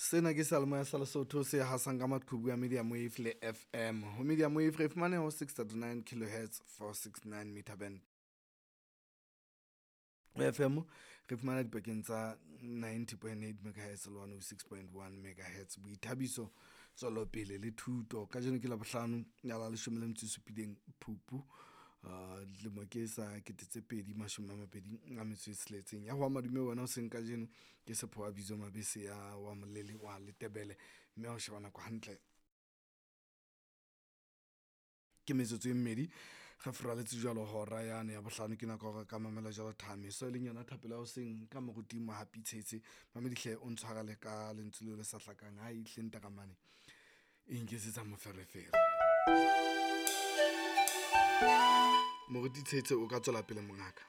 Sena ke seyalemoya sa Lesotho se hasang ka maqhubu a Medium Wave le FM. Ho Medium Wave re fumane ho 639 kilohertz 469 meter band. Ho FM re fumana dipakeng tsa 90.8 megahertz le 106.1 megahertz. Boithabiso, tswelopele le thuto. Kajeno ke Labohlano ya la leshome le metso e supileng Phupu. Dilemo ke sa 2026. Ya ho madume wena o seng kajeno ke Sephowa Bizo Mabese ya wa Molele wa Letebele. Mme ha o sheba nako hantle ke metsotso e mmedi re furaletse jwalo hora yane ya bohlano ke nako hore ka mamela jwalo thameso e leng yona thapelo ya hoseng ka moruti Mohapi Tshetse. Mamedihle o ntshwarele ka lentswe leo le sa hlakang ha ihle ntaramane e nketsetsa moferefere. Moruti Tshetse o ka tswela pele mongaka.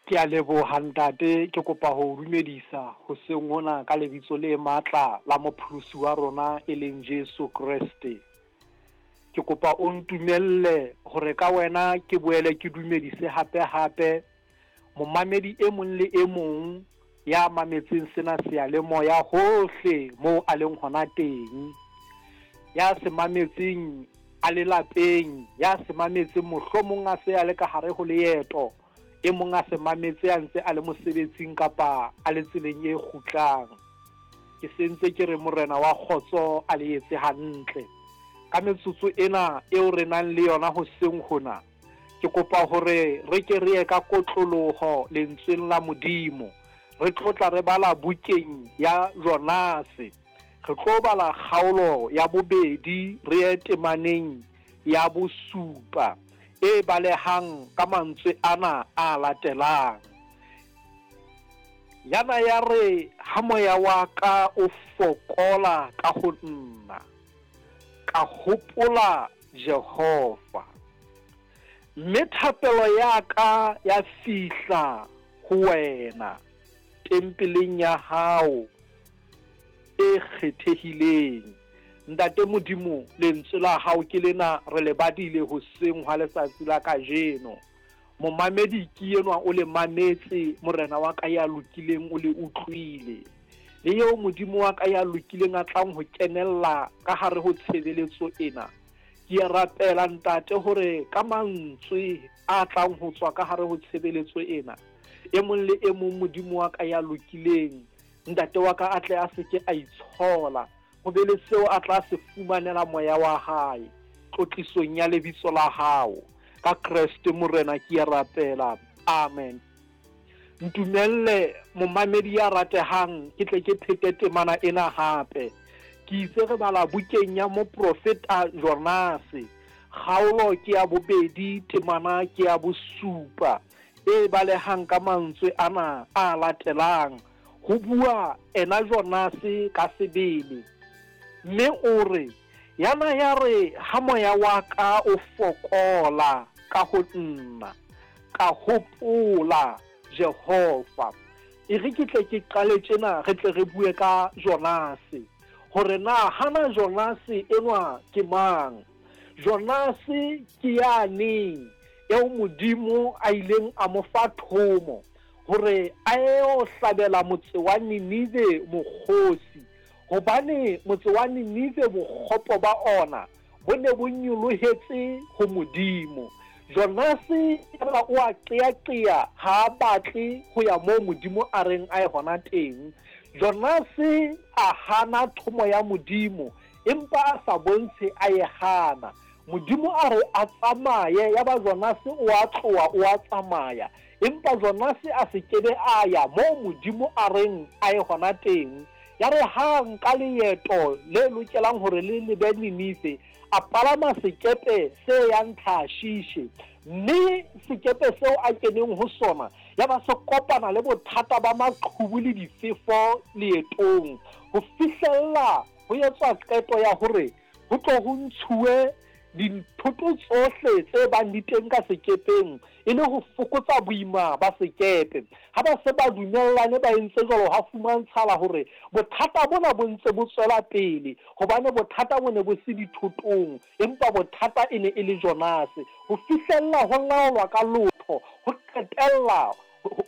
Ke a leboha ntate, ke kopa ho o dumedisa hoseng hona ka lebitso le matla la mopholosi wa rona e leng Jesu Kreste. Ke kopa o ntumelle hore ka wena ke boele ke dumedise hape hape momamedi e mong le e mong ya mametseng sena seyalemoya hohle moo a leng hona teng. Ya se mametseng a le lapeng, ya se mametseng mohlomong a se a le ka hare ho leeto, e mong a se mametse a ntse a le mosebetsing kapa a le tseleng e kgutlang. Ke sentse ke re Morena wa kgotso a le etse hantle. Ka metsotso ena eo re nang le yona hoseng hona, ke kopa hore re ke re ye ka kotloloho lentsweng la Modimo. Re tlo tla re bala bukeng ya Jonase. Re tlo bala kgaolo ya bobedi re ye temaneng ya bosupa e balehang ka mantswe ana a latelang. Yana ya re ha moya wa ka o fokola ka ho nna, ka hopola Jehova, mme thapelo ya ka ya fihla ho wena tempeleng ya hao e kgethehileng. Ntate Modimo, lentswe la hao ke lena re le badile hoseng hwa letsatsi la kajeno. Momamedi ke enwa o le mametse, Morena wa ka ya lokileng o le utlwile. Le eo Modimo wa ka ya lokileng a tlang ho kenella ka hare ho tshebeletso ena. Ke a rapela Ntate hore ka mantswe a tlang ho tswa ka hare ho tshebeletso ena, e mong le e mong Modimo wa ka ya lokileng, Ntate wa ka a tle a se ke a itshola, ho be le seo a tla se fumanela moya wa hae, tlotlisong ya lebitso la hao. Ka Kreste Morena ke a rapela. Amen. Ntumelle momamedi ya ratehang ke tle ke phete temana ena hape. Ke itse re bala bukeng ya moprofeta Jonase. Kgaolo ke ya bobedi, temana ke ya bosupa e balehang ka mantswe ana a latelang. Ho bua ena Jonase ka sebele. Mme o re, Yana ya re ha moya wa ka o fokola ka ho nna, ka hopola Jehova. E re ke tle ke qale tjena re tle re bue ka Jonase, hore na hana Jonase enwa ke mang. Jonase ke yane eo Modimo a ileng a mo fa thomo hore a eo hlabela motse wa Ninive mokgosi, hobane motse wa Ninive bokgopo ba ona bo ne bo nyolohetse ho Modimo. Jonase yaba o a qeaqea, ha a batle ho ya moo Modimo a reng a ye hona teng. Jonase a hana thomo ya Modimo, empa a sa bontshe a e hana. Modimo a re a tsamaye, yaba Jonase o a tloha o a tsamaya. Empa Jonase a se ke be a ya moo Modimo a reng a ye hona teng. Yare ha a nka leeto le lokelang hore le lebe Ninive, a palama sekepe se yang Tarshishe. Mme sekepe seo a keneng ho sona ya ba se kopana le bothata ba maqhubu le difefo leetong, ho fihlella ho etswa qeto ya hore ho tlo ho ntshuwe dinthoto tsohle tse bang di teng ka sekepeng e le ho fokotsa boima ba sekepe. Ha ba se ba dumellane ba entse jwalo, hwa fumantshala hore bothata bona bo ntse bo tswela pele, hobane bothata bo ne bo se dithotong, empa bothata e ne e le Jonase. Ho fihlella ho laolwa ka lotho, ho qetella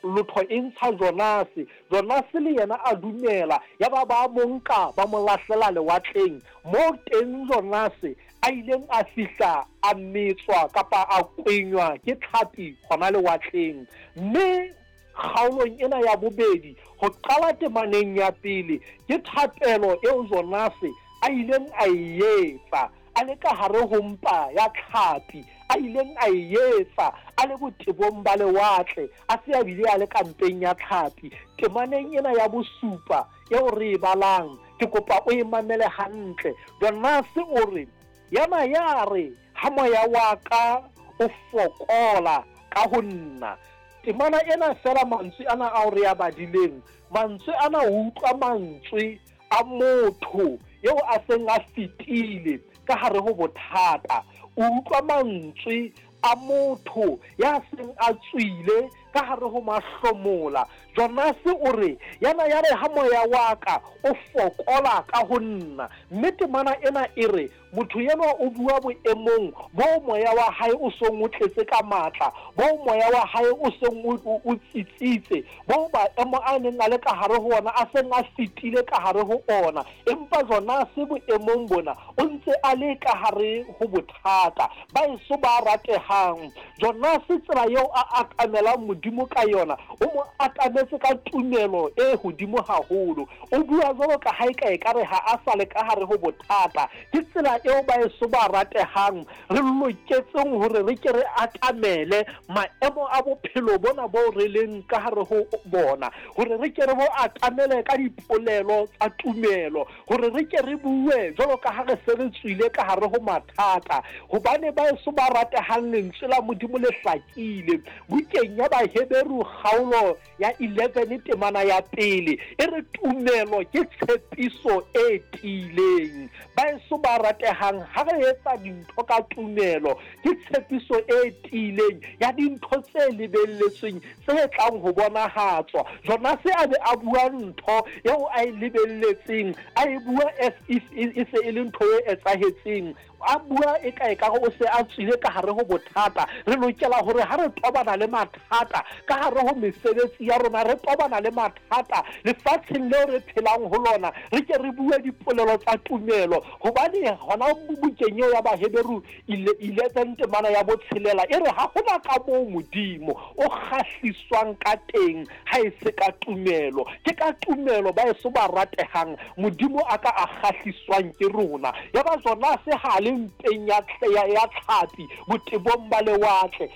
Lotho e ntsha Jonase. Jonase le yena a dumela, yaba ba mo nka ba mo lahlela lewatleng, moo teng Jonase a ileng a fihla a metswa kapa a kwenywa ke tlhapi gona lewatleng. Mme kgaolong ena ya bobedi, ho qala temaneng ya pele, ke thapelo eo Jonase a ileng a e etsa a le ka hare ho mpa ya tlhapi, a ileng a e etsa a le botebong ba lewatle, a se a bile a le ka mpeng ya tlhapi. Temaneng ena ya bosupa eo re e balang, ke kopa o e mamele hantle. Jonase o re, Ya na ya re ha moya wa ka o fokola ka ho nna. Temana ena feela, mantswe ana ao re a badileng, mantswe ana o utlwa mantswe a motho eo a seng a fetile ka hare ho bothata. O utlwa mantswe a motho ya seng a tswile ka hare ho mahlomola. Jonase o re, Ya na ya re ha moya wa ka o fokola ka ho nna. Mme temana ena e re motho enwa o bua boemong boo moya wa hae o seng o tletse ka matla, boo moya wa hae o seng o tsitsitse, boo maemo a neng a le ka hare ho ona a seng a fetile ka hare ho ona. Empa Jonase boemong bona o ntse a le ka hare ho bothata. Baeso ba ratehang, Jonase tsela eo a atamelang Modimo ka yona, o mo atametse ka tumelo e hodimo haholo. O bua jwalo ka ha eka ekare ha a sa le ka hare ho bothata. Ke tsela eo baeso ba ratehang re loketseng hore re ke re atamele maemo a bophelo bona boo re leng ka hare ho bona, hore re ke re bo atamele ka dipolelo tsa tumelo, hore re ke re bue jwalo ka ha re se re tswile ka hare ho mathata. Hobane baeso ba ratehang, Lentswe la Modimo le hlakile. Bukeng ya Baheberu kgaolo ya 11 temana ya pele e re tumelo ke tshepiso e tiileng. Baeso ba ratehang, ha re etsa dintho ka tumelo, ke tshepiso e tiileng ya dintho tse lebelletsweng tse tlang ho bonahatswa. Jonase a be a bua ntho eo a e lebelletseng, a e bua as if e se e le ntho e etsahetseng. A bua eka ekare o se a tswile ka hare ho bothata. Re lokela hore ha re tobana le mathata ka hare ho mesebetsi ya rona, re tobana le mathata lefatsheng leo re phelang ho lona, re ke re bue dipolelo tsa tumelo. Hobane hona bukeng eo ya Baheberu 11 temana ya botshelela e re ha hona ka moo Modimo o kgahliswang ka teng ha e se ka tumelo. Ke ka tumelo, baeso ba ratehang, Modimo a ka a kgahliswang ke rona. Yaba Jonase ha a le mpeng ya, ya, ya tlhapi botebong ba lewatle.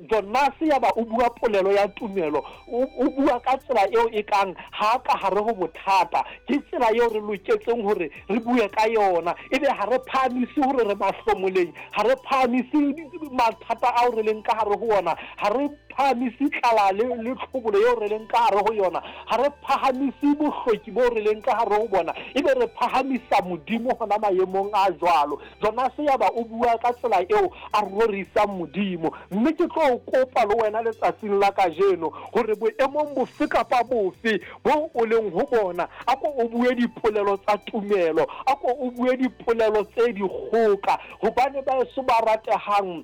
Jonase yaba o bua polelo ya tumelo, o, o bua ka tsela eo e kang ha a ka hare ho bothata. Ke tsela eo re loketseng hore re bue ka yona. Ebe ha re phahamise hore re mahlomoleng, ha re phahamise mathata ao re leng ka hare ho ona, ha re phahamise tlala le, le tlhobolo eo re leng ka hare ho yona, ha re phahamise bohloki boo re leng ka hare ho bona, ebe re phahamisa Modimo hona maemong a jwalo. Jonase yaba o bua ka tsela eo a rorisang Modimo. Mme ke tlo o kopa le wena letsatsing la kajeno, hore boemong bofe kapa bofe boo o leng ho bona, a ko o bue dipolelo tsa tumelo, a ko o bue dipolelo tse dikgoka, hobane baeso ba ratehang,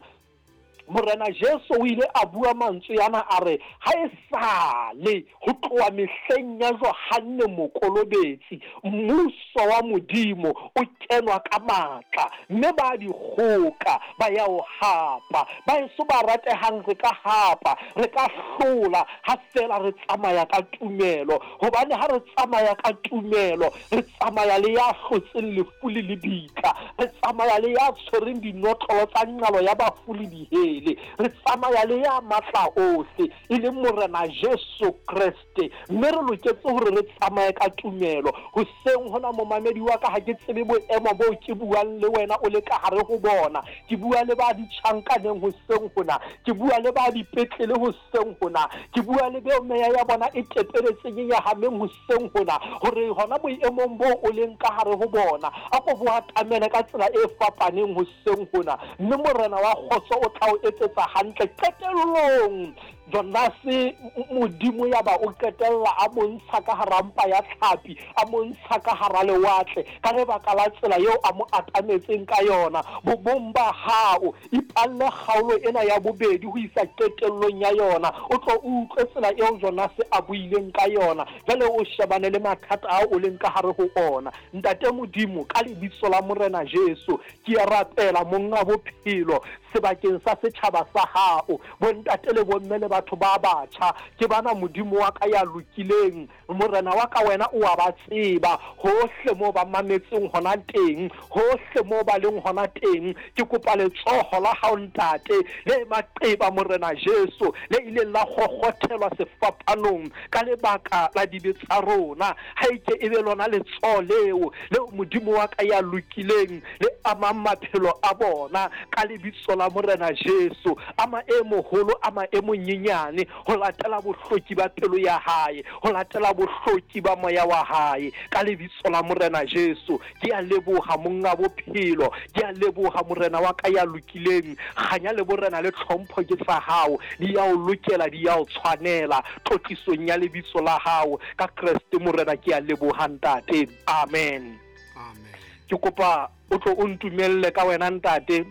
Morena Jesu o ile a bua mantswe ana a re, Ha esale ho tloha mehleng ya Johanne Mokolobetsi, Mmuso wa Modimo o kenwa ka matla, mme ba dikgoka ba ya o hapa. Baeso ba ratehang, re ka hapa, re ka hlola, ha feela re tsamaya ka tumelo. Hobane ha re tsamaya ka tumelo, Re tsamaya le ya hlotseng lefu le lebitla. Re tsamaya le ya tshwereng dinotlolo tsa nqalo ya bafu le dihele. Re tsamaya le ya matla ohle, e leng Morena Jesu Kreste. Mme re loketse hore re tsamaye ka tumelo. Hoseng hona, momamedi wa ka, ha ke tsebe boemo boo ke buang le wena o le ka hare ho bona. Ke bua le ba ditjhankaneng hoseng hona. Ke bua le ba dipetlele hoseng hona. Ke bua le beo meya ya bona e tepeletseng, e nyahameng hoseng hona, hore hona boemong boo o leng ka hare ho bona, a ko bo atamele ka tsela e fapaneng hoseng hona, mme Morena wa kgotso o tla o etsetsa hantle qetellong. Jonase, Modimo yaba o qetella a mo ntsha ka hara mpa ya tlhapi, a mo ntsha ka hara lewatle, ka lebaka la tsela eo a mo atametseng ka yona. Bobong ba hao, ipalle kgaolo ena ya bobedi ho isa qetellong ya yona, o tlo o utlwe tsela eo Jonase a buileng ka yona. Jwale o shebane le mathata ao o leng ka hare ho ona. Ntate Modimo, ka Lebitso la Morena Jesu, ke a rapela, Monga Bophelo, sebakeng sa setjhaba sa Hao, bontate le bomme le batho ba batjha, ke bana, Modimo wa ka ya lokileng, Morena wa ka, Wena o a ba tseba, hohle moo ba mametseng hona teng, hohle moo ba leng hona teng. Ke kopa letsoho la Hao, Ntate, le maqeba, Morena Jesu, le ileng la kgokgothelwa sefapanong ka lebaka la dibe tsa rona. Ha e ke e be lona letsoho leo, leo Modimo wa ka ya lokileng, le amang maphelo a bona, ka Lebitso la Morena Jesu. Ama e moholo, ama e monyenyane, ho latela bohloki ba pelo ya hae, ho latela bohloki ba moya wa hae, ka Lebitso la Morena Jesu. Ke a leboha, Monga Bophelo. Ke a leboha, Morena wa ka ya lokileng. Kganya le borena le tlhompho ke tsa Hao. Di ya O lokela, di ya O tshwanela. Tlotlisong ya Lebitso la Hao, ka Kreste Morena, ke a leboha, Ntate. Amen. Amen. Ke kopa o tlo o ntumelle ka wena, Ntate,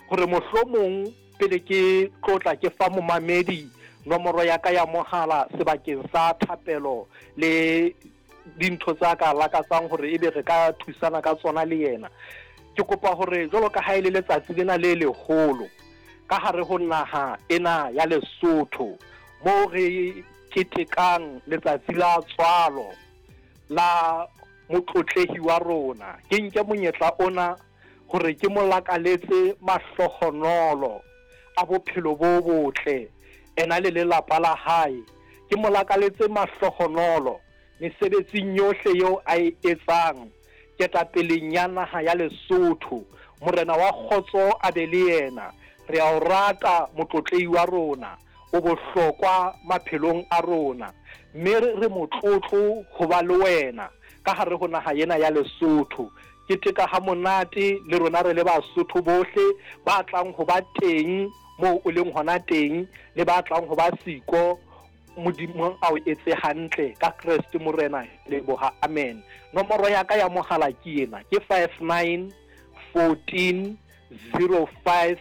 gore mohlomong pele ke tlotla ke fa momamedi nomoro ya ka ya mohala sebakeng sa thapelo le dintho tsa ka lakatsang gore ebe re ka thusana ka tsona le yena. Ke kopa gore jwalo ka ha e le letsatsi lena le leholo ka hare ho naha ena ya Lesotho, moo re ketekang letsatsi la tswalo la motlotlehi wa rona, ke nke monyetla ona hore ke mo lakaletse mahlohonolo a bophelo bo botle, ena le lelapa la hae. Ke mo lakaletse mahlohonolo mesebetsing yohle eo a e etsang ketapeleng ya naha ya Lesotho. Morena wa kgotso a be le yena. Re a o rata motlotlehi wa rona. O bohlokwa maphelong a rona, mme re motlotlo ho ba le wena ka hare ho naha ena ya Lesotho. Keteka ha monate le rona re le Basotho bohle ba tlang ho ba teng moo o leng hona teng le ba tlang ho ba siko. Modimo a o etse hantle ka Kreste Morena. Leboha. Amen. Nomoro ya ka ya mohala ke ena, ke 59 14 05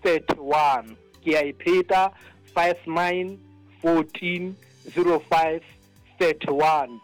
31. Ke a e pheta, 59 14 05 31.